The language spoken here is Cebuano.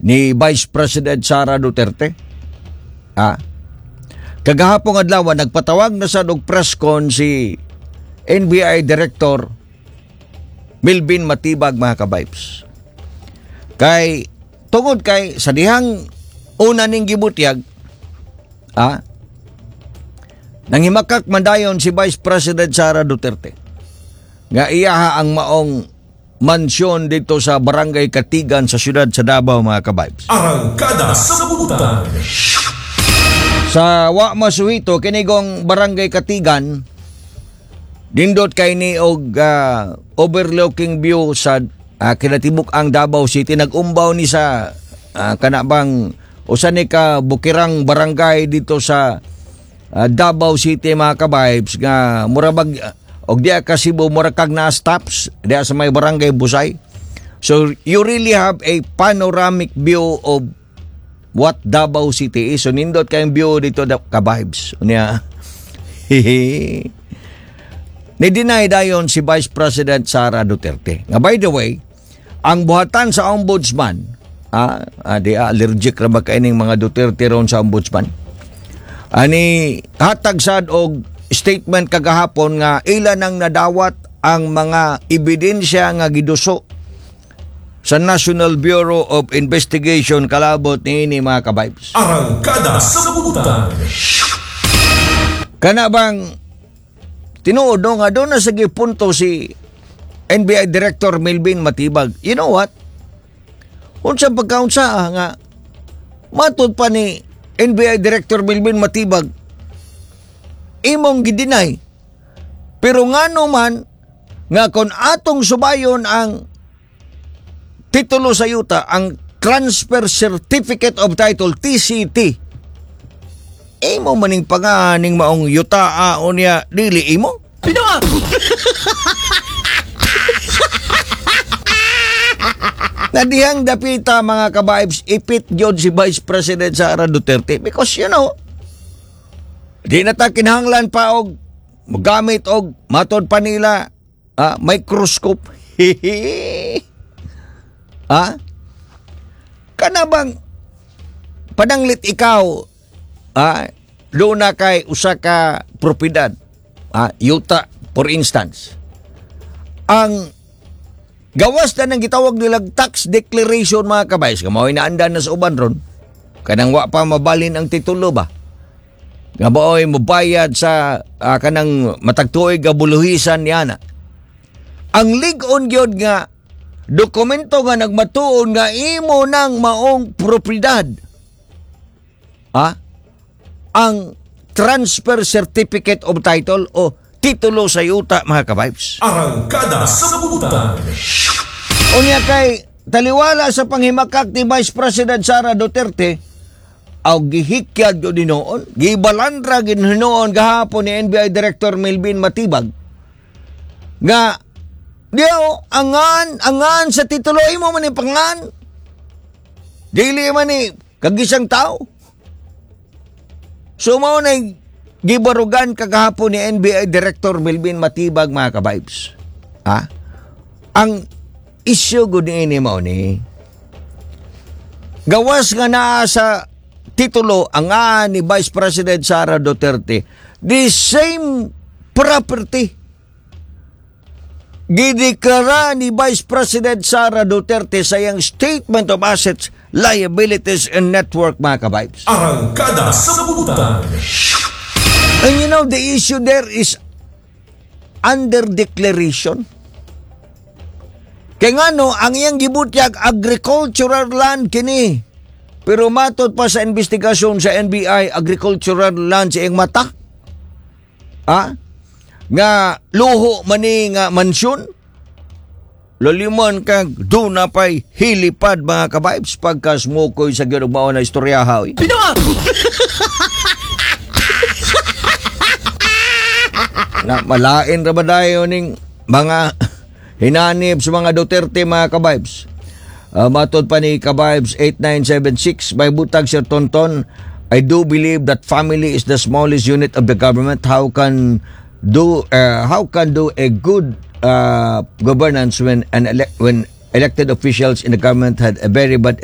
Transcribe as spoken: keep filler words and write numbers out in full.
Ni Vice President Sara Duterte. Ah. Kagahapong adlaw, nagpatawag na sa og press con si N B I Director Melvin Matibag, mga kabibes. Kay tungod kay sa dihang una ning gibutyag, ah, nanghimakak man dayon si Vice President Sara Duterte nga iyaha ang maong mansyon dito sa Barangay Katigan sa siyudad sa Davao, mga kabibes. Arangkada sa Butan. Sa wa masuhito, kinigong Barangay Katigan, nindot kay ni og ah, overlooking view sa uh, kinatibuk ang Davao City. Nag-umbaw ni sa uh, kana bang usa ni ka bukirang barangay dito sa ah, Davao City, mga kabibes, nga mura bag og diya ka Cebu, mura kag naa stops diya sa may Barangay Busay. So you really have a panoramic view of what Davao City is. So nindot kayong view dito da, ka-vibes. Unya. Ni-deny dayon si Vice President Sara Duterte. Nga by the way, ang buhatan sa ombudsman, ah, ah di ah, allergic ra ba kaining mga Duterte ron sa ombudsman? Ani hatag sad og statement kagahapon nga ila nang nadawat ang mga ebidensya nga giduso sa National Bureau of Investigation kalabot niini, mga kabibes. Arangkada sa Butan. Kana bang tinuod no nga doon na sa punto si N B I Director Melvin Matibag? You know what? Unsa pagkaunsa ah, nga matod pa ni N B I Director Melvin Matibag, imong gideny. Pero ngano man nga kon atong subayon ang titulo sa yuta, ang Transfer Certificate of Title, T C T, imo maning panganing maong yuta o niya dili imo? Pinoa! Na dihang dapita, mga kabibes, ipit gyud si Vice President Sara Duterte because you know di na ta kinahanglan pa og gamit og matod pa nila ah, microscope. Ah, kana bang pananglit ikaw ah, doon na kay usa ka propiedad, ah, yuta for instance, ang gawas na ng gitawag nilang tax declaration, mga kabays, nga mao'y naandan na sa uban ron, kanang wa pa mabalin ang titulo ba nga mao'y mobayad sa ah, kanang matag tuig nga buluhisan niya na ang lig-on gyud nga dokumento nga nagmatuon nga imo nang maong propiedad, ah, ang Transfer Certificate of Title o titulo sa yuta, mga kabibes. Arangkada sa Butan. Unya kay taliwala sa panghimakak ni Vice President Sara Duterte, aw gihikyad gyud hinuon, gibalandra gyud hinuon gahapon ni N B I Director Melvin Matibag nga diyo angan angan sa titulo, imo man ni pangan, dili man ni kagisang tao. So mao na gibarugan kagahapon ni N B I Director Melvin Matibag, mga kabibes. Ha? Ang isyu gud niini mao ni gawas nga naa sa titulo ang nga ni Vice President Sara Duterte, the same property gideklara ni Vice President Sara Duterte sa iyang Statement of Assets, Liabilities and Net Worth, mga kabibes. Arangkada sa Butan. And you know, the issue there is under declaration. Kaya nga no, ang iyang gibutyag, agricultural land kini. Pero matod pa sa investigasyon sa N B I, agricultural land sa iyang mata. Ah? Nga luho mani nga mansyon. Lalimon kag doon na pa'y helipad, mga kabibes, pagka smokoy sa gyud mao na istorya ha, oy. Pinoa! Na malain ra ba dayon ning mga hinanib sa mga Duterte, mga kabibes? Uh, matod pa ni Kabibes eight nine seven six, may butag Sir Tonton, "I do believe that family is the smallest unit of the government. How can do uh, how can do a good uh, governance when an ele- when elected officials in the government had a very bad